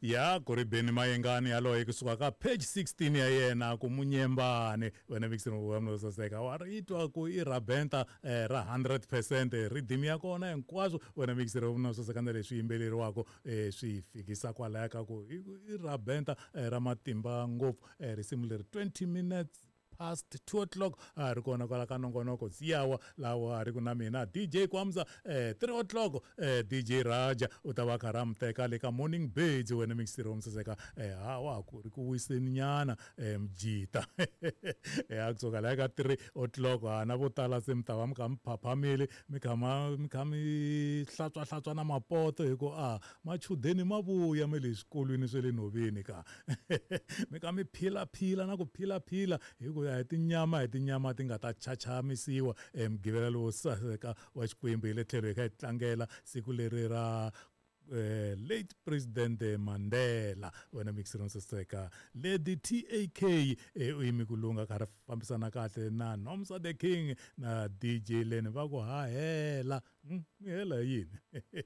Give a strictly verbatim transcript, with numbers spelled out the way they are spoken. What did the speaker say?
Ya ku ri Benny Mayengani yaloye kusuka ka page sixteen ya yena ku munyembane. Wena mixini wa mina saseka, wa ri twa ku i rabenta eh, ra hundred percent, rhythm ya kona hinkwaswo. Wena mixini wa mina saseka, na leswi yimbeleriwaka eh, swi fikisa kwalaya ka ku i i rabenta eh, ra matimba ngopfu. eh, risimu leri twenty minutes past two o'clock a ri kona kwala ka nongonoko Ziyawa, lawa a ri ku na mina D J Kwamza. eh three o'clock eh D J Raja u ta va karhi a mi teka le ka Morning Birds. Wena mixiri wa misaseka, eh ha wa ku ri ku wiseni nyana eh mjita eh a kusuka la ka three o'clock ha na vo tala se mi ta va mi kha mi phaphamile, mi kha ma mi kha mi hlantswa hlantswa na mapoto, hi ku a machudeni ma vuya me le swikolweni swa le nhoveni ka mi kha mi philaphila na ku philaphila, hi ku ya hi tinyama hi tinyama ti nga ta chachamisiwa. Mugqivela lowo saseka wa Xikwembu, hi le tlhelo hi kha hi tlangela siku leri ra eh, late President Mandela. Wena mixiri saseka, Lady Tak eh, u yimi ku lunga kha ri fambisana kahle na Nomsa the King na D J Len, va ku ha hela. hmm, mi hela hi yini?